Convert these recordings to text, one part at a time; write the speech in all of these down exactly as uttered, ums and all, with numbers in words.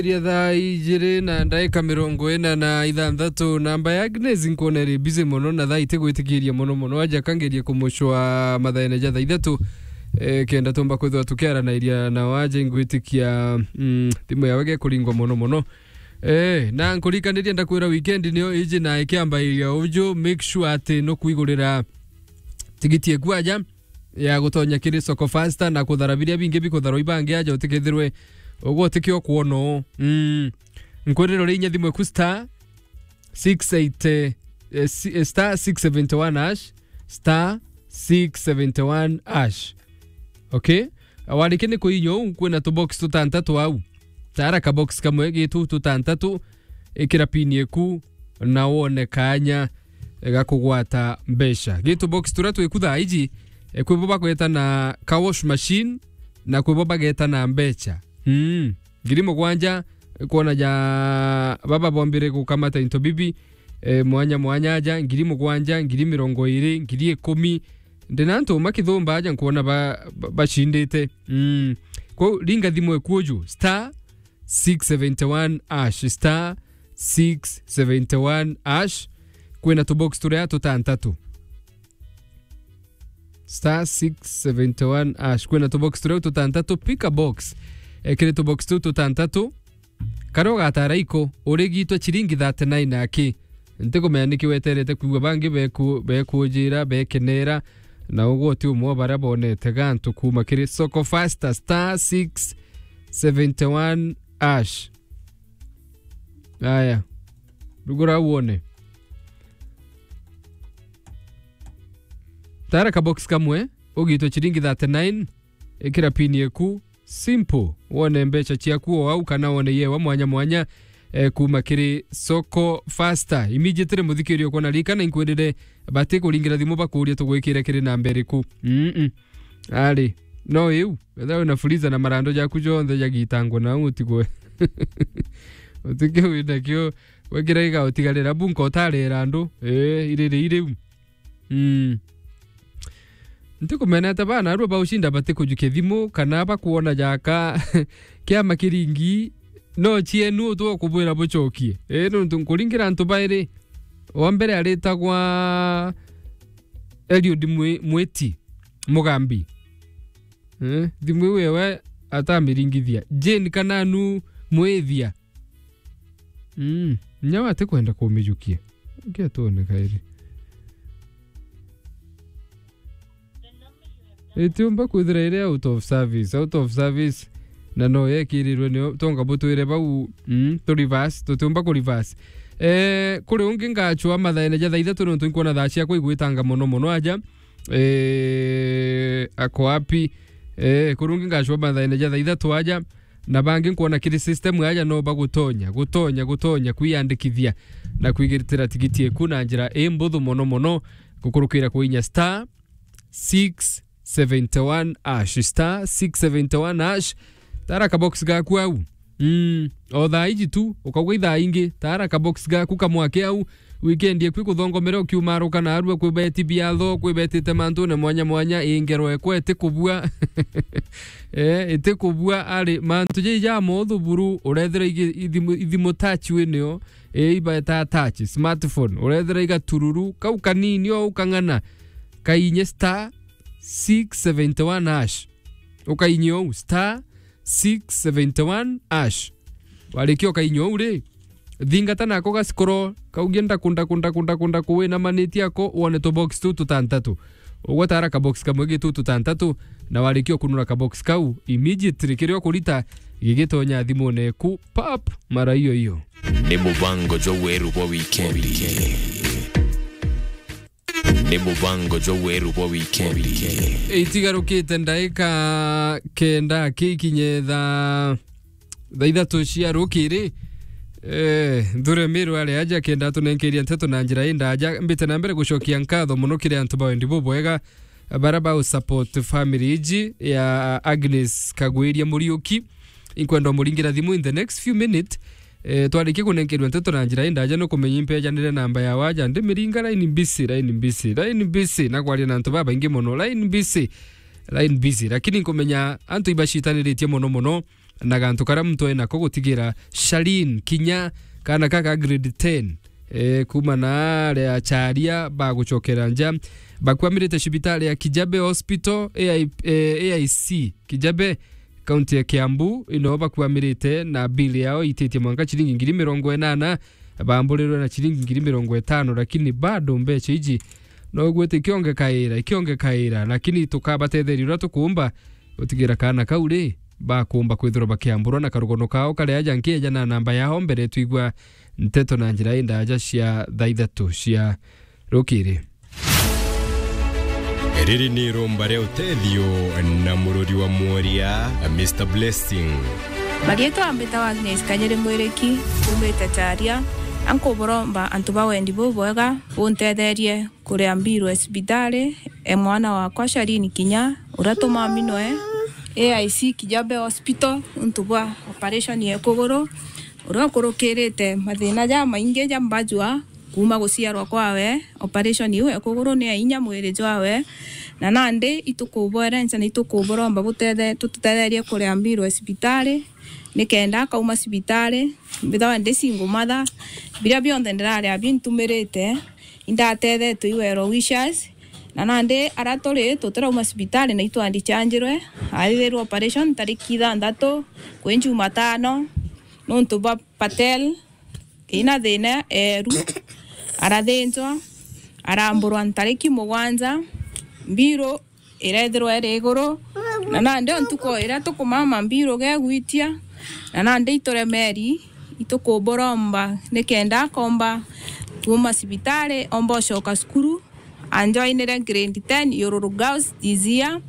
Iria thaa ijiri na ndaika mirongo ina na ithanthatu, namba ya Agnes nkwona iri busy mono, na thaa itigwitikiria mono mono, aja kangerie kumucwa mathaene ja thaa ithatu, eh, kenda tumba kwithirwa tukiaranairia nao aja ingwitikia, mm, thimu yawe gekuringwa mono mono. Eh, na nkurikanirie ndakwira weekend niyo iji na ikiambairia uju, make sure ati nukwigurira tigiti eku aja ya gutonya kiri Soko Fasta na kuthara biria bingi bikutharwa ibangi aja utikethirwe ugwe utikio kwona uu. Mm. Nkwirira uri inya thimu eku star six eighty, eh, si-, eh, star six seventy one hash, star six seventy one hash. Okay? Wariki ni kuinya uu, kwina tubox tutantatu au. Tara kabox kamwe gitu tutantatu, ikira pin eku na wone kanya ga kugwata mbeca. Gitu box turia twiku thaa iji, eh, kwi bo bagweta na car wash machine na kwi bo bageta na mbeca. Mm. Ngiri mugwanja, kwona ja baba bombire gukamata into bibi, eh, mwanya mwanya aja, ngiri mugwanja, ngiri mirongo iri, ngiri ikumi. Ndina antu makithumba aja nkwona ba-, ba-, bacindite. Mm. Kwou ringa thimu eku uju, star six seventy one hash, star six seventy one hash. Kwina tubox turia tutantatu. Star six seventy one hash. Kwina tubox turia tutantatu, pick a box. Eh, kiri tubox tu tutantatu, karia ugatara iko, urigitwe ciringi thirty nine aki. Ntikumenya niki weterete kwigua bangi beku-, bekujira, bekenera, na ugwe uti umwe wa baria bonete gantu kuuma kiri Soko Fasta, star six seventy one hash. Aya. Rugura wone. Tara kabox kamwe, ugitwe ciringi thirty nine, ikira pin yeku, simple, wone mbeca ciaku o au, kana wone yewa mwanya mwanya, eh, kuuma kiri Soko Fasta. Immediately, muthikiria ukwona rika na inkwirire bati kuringira thimu bakuria tugwikire kiri namba iriku. Mm-mm. Ari, no iu, wethira wina freezer na marando jaku jonthe jagitangwa na utigwe. Utige wina kio, wekira iga utigarira bunka utarera andu. Eh, iriri iriu. Mm. Ntikumenete bana arua baucinda batikujukia thimu kana bakuona jaka kiama kiringi, no cienu utwe kubwira bucokie. Eh, nontu nkuringira antu bairi, wa mbere aritagwa Eliud Mwi-, Mwiti Mugambi. Eh, thimu iu ewe atamiringithia. Jane Kananu Mwithia. Mm, nyawe atikwenda kumijukia. Ngia tuone kairi. Itiumba kwithira iri out of service, out of service. Na no yekirirwe nio, tonga butwire bau, mm, tu reverse, tutiumba ku reverse. Eh, kuri ungi ngachwa mathaene ja thaa ithatu nontu nkwona thaa ciakwa igwitanga mono mono aja. Eh, ako wapi? Eh, kuri ungi ngachwa mathaene ja thaa ithatu aja. Na bangi nkwona kiri system aja no bagutonya, gutonya, gutonya kwiyandikithia na kwigitira tigiti eku na njira imbuthu mono mono, gukurukira kuinya star six seventy one hash, star six seventy one hash. Tara kabox gaku au. Mm, o thaa iji tu, ukaugwa ithaa ingi, tara kabox gaku kamwake au, weekend eku ikuthongomera ukiumaruka narua, kwi beti biatho, kwi betite mantune mwanya mwanya, ingero ekwa itikubua. Eh, itikubua ari mantu jai ja mothu buru, urethira igi-, ithimu, ithimu touch winio, eh, ibeta touch, smartphone, urethira igatururu, kau kanini o ukang'ana, kainye star six seventy one hash. Ukainye ou, star six seventy one hash. Warikia ukainywa uu ri, thingata nako gacikoro, kaugie ndaku, ndaku, ndaku, ndaku, ndaku, winamanitie ako, wone tubox tu tutantatu. Ugwetara kabox kamwe gi tu tutantatu, na warikia ukunura kabox kau, immediately kiria ukurita gigitonya thimune eku, pap, mara iyo iyo. Ni mubango jwa weru bwa wikendi. Ni mubango jwa weru bwa wikendi. Itigarukite ndaika kenda kikinye thaa, thaa ithatu cia rukiri. Eh, Nthure Miru ari aja kenda atunenkeria nteto na njira indaja. Mbite na mbere gucokia nkatho mono kiri antu ba wendi bubwega, bara ba support family iji ya Agnes Kagwiria Muriuki. Inkwenda umuringira thimu in the next few minutes. Eh, twarikia kunenkerua nteto na njira indaja, nukumenya impejanire namba ya waja, ndimiringa line busy, line busy, line busy, na kwaria na antu babaingi mono, line busy, line busy. Lakini nkumenya antu ibacitaniritie mono mono, na gantu karia muntu ena ko gutigira Shalin Kinya, kana kaka grade ten, eh, kuma na aria acharia bagucokera nja, bakwamirite cibitari ya Kijabe Hospital, A I, eh, A I C Kijabe, kaunti ya Kiambu, ino bakwamirite na bill yao ititie mwanka ciringi ngiri mirongo inana, bamburirwe na ciringi ngiri mirongo itano, lakini bado mbeca iji no gwita ikiongekaira, ikiongekaira, lakini tukabatetheria uria tukumba gutigira kaana kau ri, bakumba kwithirwa bakiamburwa na karugono kao kari aja. Nkieja na namba yao mbere twigua nteto na njira indaja cia thaa ithatu cia rukiri. Riri ni irumba ria utethio na mururi wa mworia, Mister Blessing. Marietwa mbitawa Agnes Kanyiri Mwiriki, umite Charia, na nkuburomba antu ba wendi bubwega buntetherie kuria mbirwe cibitari e mwana wakwa Shalini Kinya, uria tumaminwe A I C Kijabe Hospital untu bwa operation ya kuguru, uria ukurukirite mathina jamaingi ja mbajua kuma guciarwa kwawe. Operation iu ya kuguru ni ya inya mwiri jwawe, na nandi itukubwerenca na itukuburomba butethe-, tututetherie kuria mbirwe cibitari, nikenda akauma cibitari. Mbithawa ndi single mother, biria bionthe ndiraria bintumirite, indatethetwe i well wishers, na nandi aria turi tutirauma cibitari na itwandichanjirwe, athithirwe operation tariki ithanthatu kwi Jumatano, nontu bwa Patel ina thina eeru, arathinjwa, aramburwa ntariki mugwanja, mbiru irethirwa iri iguru, na nandi o ntuku iria tukumama mbiru gegwitia, na nandi ituremeri, itukuburomba nikenda akomba kuuma cibitari, omba ucoka cukuru. Anjoinire grade ten Yururu Girls this year,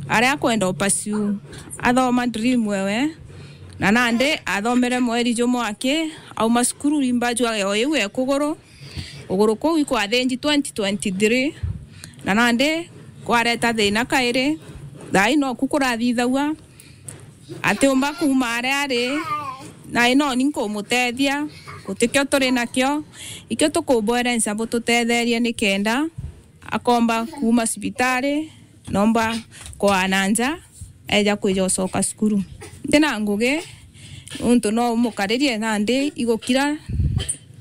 aria akwenda upursue athoma dream ewe, na nandi athomere mweri jumwe aki auma cukuru, rimba jwa o iu e kuguru. Kuguru kuu ikwathinji twenty twenty-three, na nandi kwareta thina kairi, thaai noku kurathithagua. Atiumba kuuma aria ari, na ino ni nkumutethia, gutikio turi nakio, ikio tukubwerenca bututetherie nikenda akomba kuuma cibitari, nomba kwaa na nja, eja kwija ucoka cukuru. Ntina ngugi, nontu no umukaririe nandi igukira,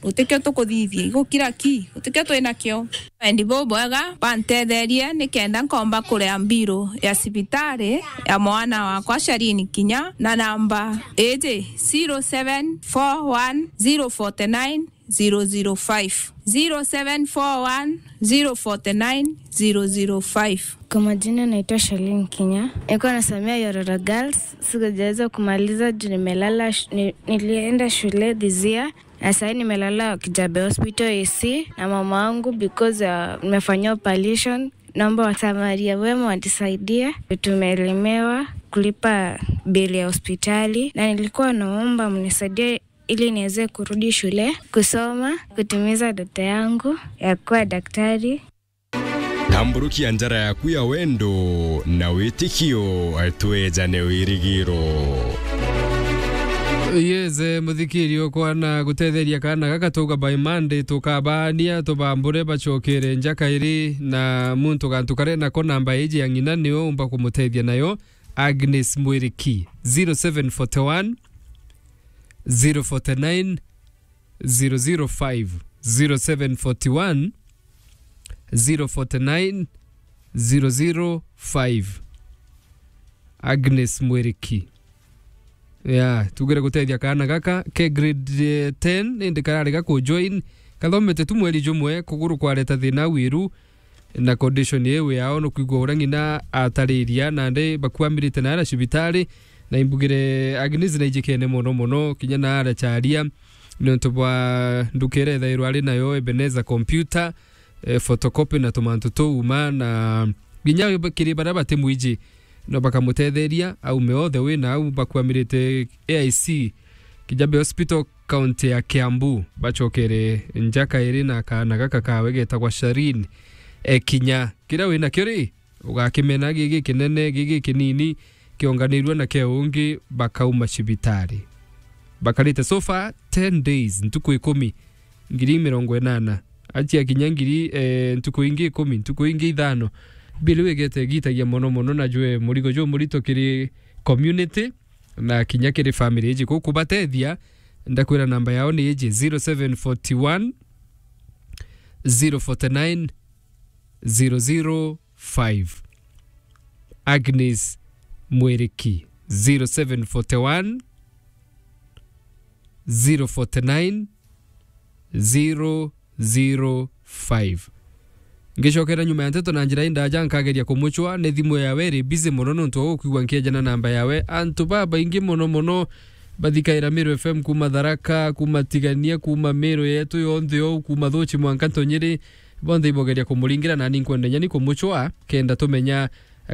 gutikio tukuthithia, igukira ki, gutikio twi nakio. Wendi bubwega bantetherie nikenda nkomba kuria mbiru ya cibitari ya mwana wakwa Shalini Kinya, na namba iji, zero seven four one zero forty nine zero zero five, zero seven four one zero forty nine zero zero five. Kwa majina naitwa Shalini Kinya. Nilikuwa nasomea Yororo Girls. Sikujaweza kumaliza juu nimelala sh-, ni-, nilienda shule this year. Na sasa nimelala Kijabe Hospital A C na mama wangu because, uh, nimefanyiwa operation. Naomba wasamaria wema wanisaidie. Tumelemewa kulipa bili ya hospitali na nilikuwa naomba mnisaidie ili niweze kurudi shule, kusoma, kutimiza ndoto yangu ya kuwa daktari. Tamburukia njara yaku ya wendo na witikio, twejane wirigiro. Yes, eh, muthikiri okwa na gutetheria kana gaka tuga by Monday tukabaania tubambure bacokere nja kairi na muntu gantu kare nako namba iji ya ng'ina niyo umba kumutethia nayo Agnes Mwiriki zero seven forty one zero forty nine zero zero five, zero seven forty one zero forty nine zero zero five. Agnes Mwiriki. Ya, tugire gutethia kaana gaka ke grade, eh, ten, indi kararega ku join. Kathomete tu mweri jumwe, kuguru kwareta thina wiru, na condition iu yao nukwigua uria ng'ina atariria, nandi bakuamirite na aria cibitari, na imbugire Agnes na ijikene mono mono, kinya na aria charia, niuntu bwa nduka iria ithairwa ari nayo Ebenezer Computer, eh, photocopy na tumantu tuu uma, na kinya kiri baria batimwiji, no bakamutetheria, aume othe wina au bakuamirite A I C Kijabe Hospital, kaunti ya Kiambu, bacokere nja kairi na kaana gaka kawe getagwa Sharin. E, kinya kiria wina kio ri, ugakimena gigi kinene, gigi kinini, kionganirue na ke ungi, bakauma cibitari. Bakarite so far ten days, ntuku ikumi, ngiri mirongo inana. Achia kinya ngiri, eh, ntuku ingi ikumi, ntuku ingi ithano. Bill wigete igitagia mono mono, na jwe murigo jumurito kiri community, na kinya kiri family iji kukubatethia, ndakwira namba yao ni iji, zero seven forty one, zero forty nine, zero zero five. Agnes Mwiriki, zero seven forty one, zero forty nine, zero zero five. Ngicokera nyuma ya nteto na njira indaja, nkageria kumucwa, ni thimu yawe iri busy mono nontu wa gukwigua nkiejana namba yawe. Antu babaingi mono mono bathikaira Meru F M kuma Tharaka, kuma Tigania, kuma Meru yetu yonthe ou, kuma Thuchi mwanka Ntonyiri, bonthe ibogeria kumuringira, nani nkwenda nyani kumucwa, kenda tumenya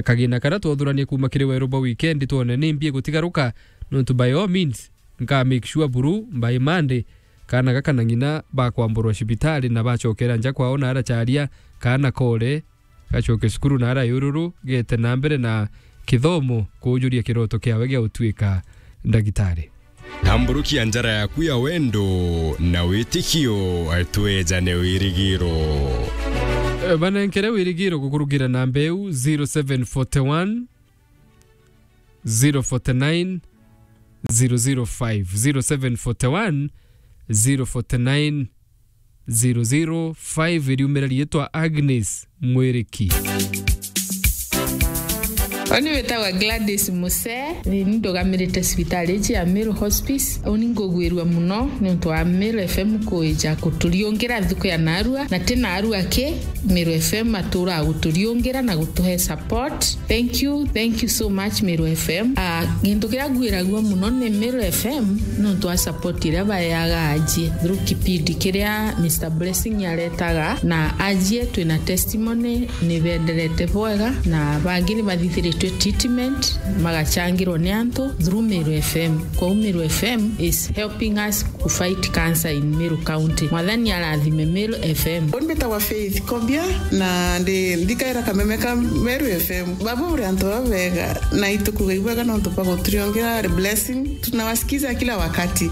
kagina karia twothuranie kuma kiri weru bwa weekend, twone ni mbi igutigaruka, nontu by all means, nka make sure buru by Monday, kaana gaka na ng'ina bakwamburwa cibitari na bacokera nja kwao na aracaria kaana kore, gacoke cukuru na ara yururu, gete na mbere na kithomo, kujuria kiroto kiawe gia utuika ndagitari. Tamburukia njara yaku ya wendo na witikio, twejane wirigiro. Eh, banenkere wirigiro gukurugira namba iu, zero seven forty one, zero forty nine, zero zero five, zero seven forty one, zero forty nine, zero zero five, iriumira riitwa Agnes Mwiriki. Oni witagwa Gladys Muse, ni ndugamirite cibitari iji ya Meru Hospice. Uni ngugwirua muno niuntu wa Meru F M kuija kuturiungira nthuku ya narua, na ti narua ki, Meru F M atura guturiungira na gutuhe support. Thank you, thank you so much, Meru F M. Ah, gintu kiria ngwiragua muno ni Meru F M nontu wa support iria baeaga ajie through kipindi kiria Mister Blessing aretaga, na ajie twina testimony ni benderete bwega, na bangi ni bathithiritwe treatment, magachangirwa ni antu through Meru F M. Kwou Meru F M is helping us to fight cancer in Meru County. Mwathani arathime Meru F M. Uni mbitagwa Faith Kobia, na ndi nthikaira kameme ka Meru F M. Baba uri antu babega, na itukuga ibwega nontu bwa guturiongera blessing. Tunawasikiza kila wakati.